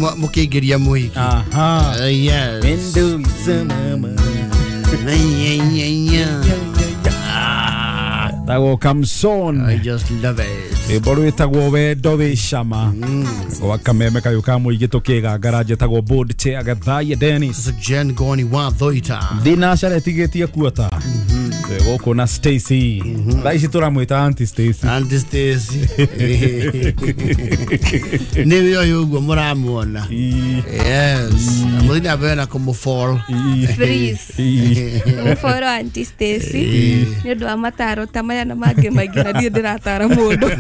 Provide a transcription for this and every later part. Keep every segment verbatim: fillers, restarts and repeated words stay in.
Mũkĩingĩria mũhiki. Aha. Uh, yes. Window mama. Tagwo Kamson. I just love it. Rwĩmbo rwĩtagwo wendo wĩ cama. Gwa kameme kayũ ka mũingĩ tũkĩgangara njĩtagwo board chair Gathaiya Dennis. Jen Goni wa Thoita. Thinacara ĩtigĩtie kuota. Gũkũ na Stacy. Thaa ici tũramwĩta Auntie Stacy. Auntie Stacy. Nĩwe ũyũ ũguo mũramuona. Yes. Mũthiĩ na mbere na kũmũfollow. Please. Mũfollow Auntie Stacy. Nĩ ũndũ wa mataro ta maya na mangĩ maingĩ na ndirĩ ndĩratara mũndũ.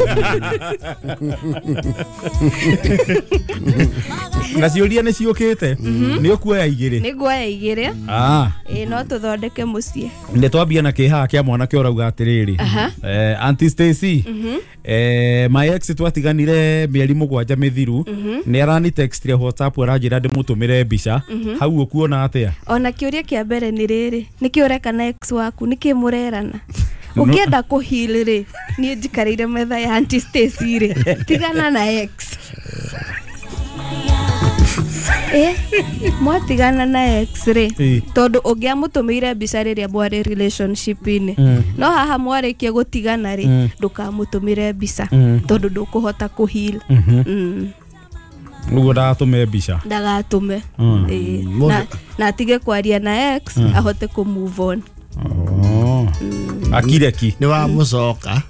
Na ciũria nĩ ciũkĩte. Nĩ ũkuoya igĩrĩ. Nĩ nguoya igĩrĩ. Ah. Ĩĩ no tũthondeke mũciĩ. Nĩ twambia na kĩhaha kĩa mwanake ũrauga atĩrĩrĩ. Eh, Auntie Stacy. Eh, my ex twatiganire mĩeri mũgwanja mĩthiru. Nĩ arani textire WhatsApp aranjĩra ndĩmũtũmĩre mbica. Hau ũkuona atĩa? Ona kĩũria kĩa mbere nĩ rĩrĩ. Nĩkĩ ũreka na ex waku? Nĩkĩ mũrerana? Ũngĩenda kũheal rĩ, niĩ njikarĩire metha ya Auntie Stacy rĩ, tigana na ex. Eh, mwatigana na ex rĩ, tondũ ũngĩamũtũmĩire mbica rĩrĩa mwarĩ relationship-inĩ, no haha mwarĩkia gũtigana rĩ, ndũkamũtũmĩre mbica tondũ ndũkũhota kũheal. Ũguo ndagatũme mbica. Ndagatũme. Na na atige kwaria na ex ahote kũ move on. Oh. Akireki. Nĩ wamũcoka.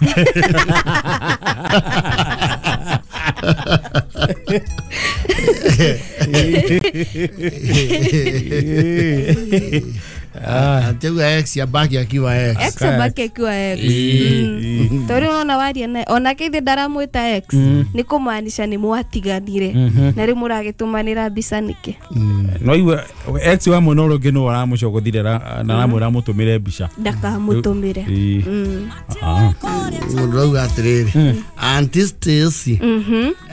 Antigua ex abaki akiwa ex. Ex abaki akiwa ex. Tori unaona waria naye onake ithe ndaramwĩta ex nĩ kũmaanisha nĩ mwatiganire na rĩu mũragĩtũmanĩra mbica nĩkĩ. No iwe ex wa mwena ũrĩa ũngĩ no aramũcogothire na aramwĩra amũtũmĩre mbica. Ndakamũtũmĩre. Mũndũ auga atĩrĩrĩ, Auntie Stacy,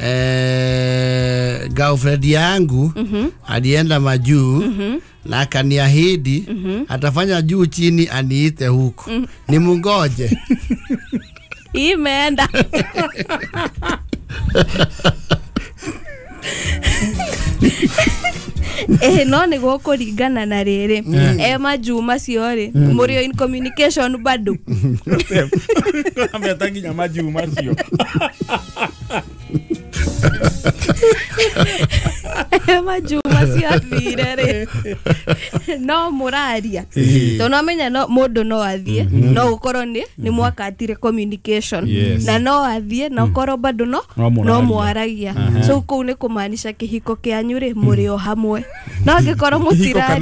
eh, girlfriend yangu alienda majuu na akaniahidi atafanya juu chini aniite huko. Ni mungoje. Imeenda. Eh, no nĩ gũkũringana na rĩrĩ e majuu macio rĩ mũrĩ in communication bado. Ameta nginya majuu macio. Majuu macio athire rĩ no mũraria tondũ no menya no mũndũ no athiĩ no gũkorwo nĩ nĩ mwakatire communication na no athiĩ na ũkorwo bado no no mwaragia, so kũu nĩ kũmaanisha kĩhiko kĩanyu rĩ mũrĩ o hamwe no angĩkorwo mũtiraria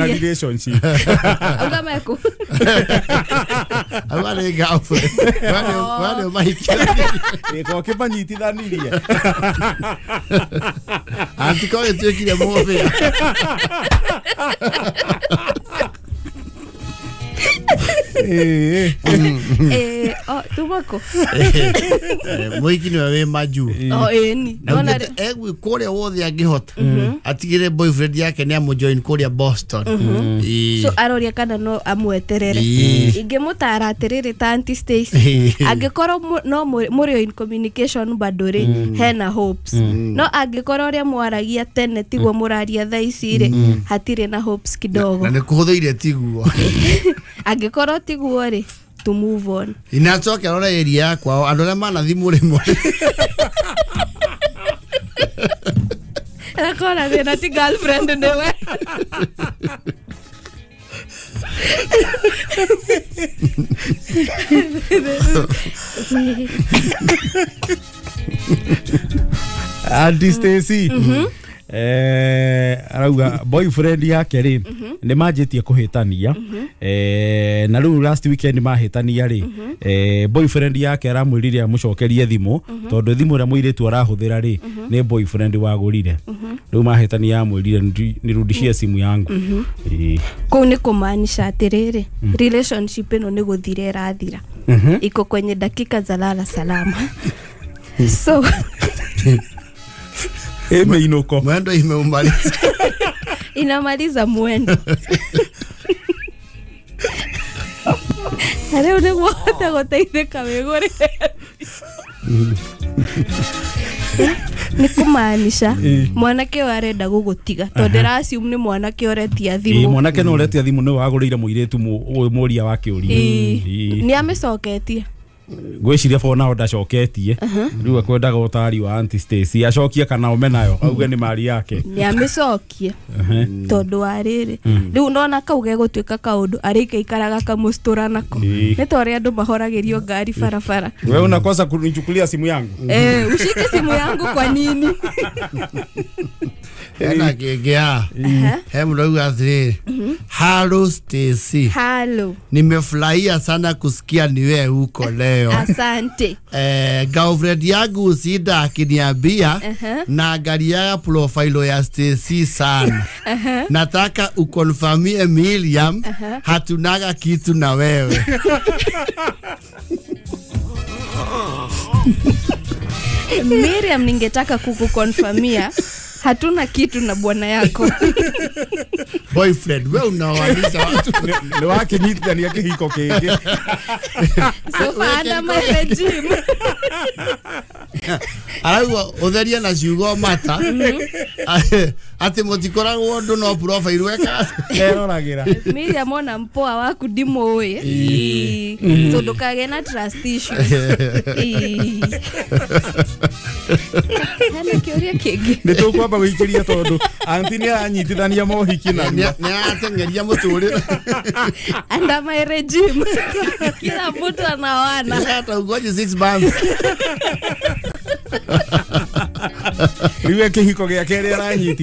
auga meku auga nĩ girlfriend wale mahikĩra gĩko kĩmanyitithanirie. Antiko ĩtuĩkire mũthĩa. Eh, oh, tumako. Mũhiki nĩwe wĩ majuu. Oh, ĩni. Na egwi kũrĩa wothe angĩhota atigĩre boyfriend yake nĩ amũjoin kũrĩa Boston. So aroria kana no amweterere. Ingĩmũtara atĩrĩrĩ ta Auntie Stacy, angĩkorwo no mũrĩ in communication bado rĩ hena hopes, no angĩkorwo ũrĩa mwaragia tene tiguo mũraria thaa ici rĩ hatirĩ na hopes kidogo. Na nĩ kũhũthĩire tiguo. Angĩkorwo tiguo rĩ to move on. Inacoke arora area yakwa andũ arĩa manathi mũrĩmo. Akona thĩna ti girlfriend nĩwe. Auntie Stacy, eh, arauga boyfriend yake rĩ nĩ manjĩtie kũhĩtania, eh, na rĩu last weekend mahĩtania rĩ, eh, boyfriend yake aramwĩrire amũcokerie thimũ tondũ thimũ ĩrĩa mũirĩtu arahũthĩra rĩ nĩ boyfriend wagũrire. Rĩu mahĩtania amwĩrire nirudishie simu yangu. Kũu nĩ kũmaanisha atĩrĩrĩ relationship ĩno nĩ gũthira ĩrathira, iko kwenye dakika za lala salama. So imeinuko mwendo imeumaliza. Inamaliza mwendo. Rĩu nĩguo hote gũteithĩka wĩgũrĩre. Nĩ kũmaanisha mwanake ũyũ arenda gũgũtiga tondũ ndĩra-assume nĩ mwanake ũretia Ĩĩ, thimũ. Mwanake no ũretia thimũ nĩ wagũrĩire mũirĩtu mũ- mũria wa kĩũria. Ĩĩ. Ĩĩ. Nĩ amĩcoketie? Ngwĩciria for now ndacoketie. Rĩu akwendaga ũtari wa Auntie Stacy, acokie kana ome nayo auge nĩ mari yake. Nĩ amĩcokie, tondũ wa rĩrĩ, rĩu ndona kau gegũtuĩka kaũndũ arĩikaikaraga kamũcitũra nako. Ĩĩ. Nĩ ta ũrĩa andũ mahoragĩrio ngari barabara. Wewe unakosa kunichukulia simu yangu. Eh, ushike simu yangu kwa nini? Hena kĩngĩ haha, he mũndũ auga atĩrĩrĩ, "Hello Stacy." Halo. "Nimefurahia sana kusikia ni wewe huko leo." Asante. Eh, girlfriend yangu Usinda akiniambia naangaliaga profile ya Stacy sana. Nataka ukonfirmie Miriam hatunaga kitu na wewe." Miriam, ningetaka kukukonfirmia hatuna kitu na bwana yako. Boyfriend, we unawanisha watu. Nĩ wakĩnyitithania kĩhiko kĩngĩ. So far under my regime. Arauga utherie na ciugo mata atĩ mũtikoragwo ũndũ no profile weka. Eroragĩra. Miriam, ona mpoa waku ndimũĩ. Ĩĩ. So ndũkagĩe na trust issues. Ĩĩ. Hena kĩũria kĩngĩ? Nĩ tũkwamba gũikĩria tondũ auntie nĩ aranyitithania mohiki narua. Nĩ arateng'eria mũtũrĩre. Under my regime kila mtu anaoana. Hata ugoje six months. Rĩu e kĩhiko gĩa kerĩ aranyitithania.